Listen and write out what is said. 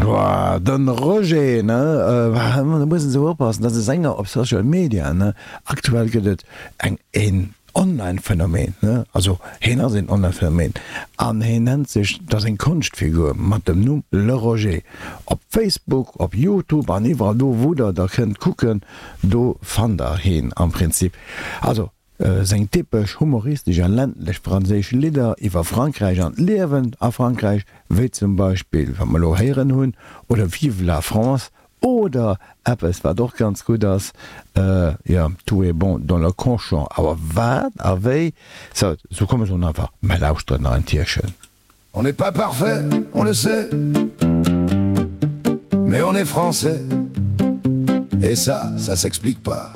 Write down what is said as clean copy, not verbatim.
Boah, den Roger, ne? Da muss een sou oppassen, dat ass e Sänger op Social Media, ne? Aktuell gëtt et eng, een Online-Phänomen, ne? Also heen ass een Online-Phänomen an heen nennt sech, dat ass eng Konschtfigur mat dem Numm Le Roger. Op Facebook, op Youtube an iwwerall do wou der da kënnt kucken, do fannt der heen am Prinzip. Also Seng typesch humoristesch a ländlech franséisch Lidder iwwer Frankräich an d'Liewen a Frankräich, wéi zum Beispill wat mer elo héieren hunn, oder Vive la France oder eppes wat och ganz gutt ass, jo, Tout est bon dans le conchon. Awer wat a wéi, sou, sou komm ech soen einfach, mer lauschteren nach en Tierchen. On n'est pas parfait, on le sait, mais on est français et ça, ça s'explique pas.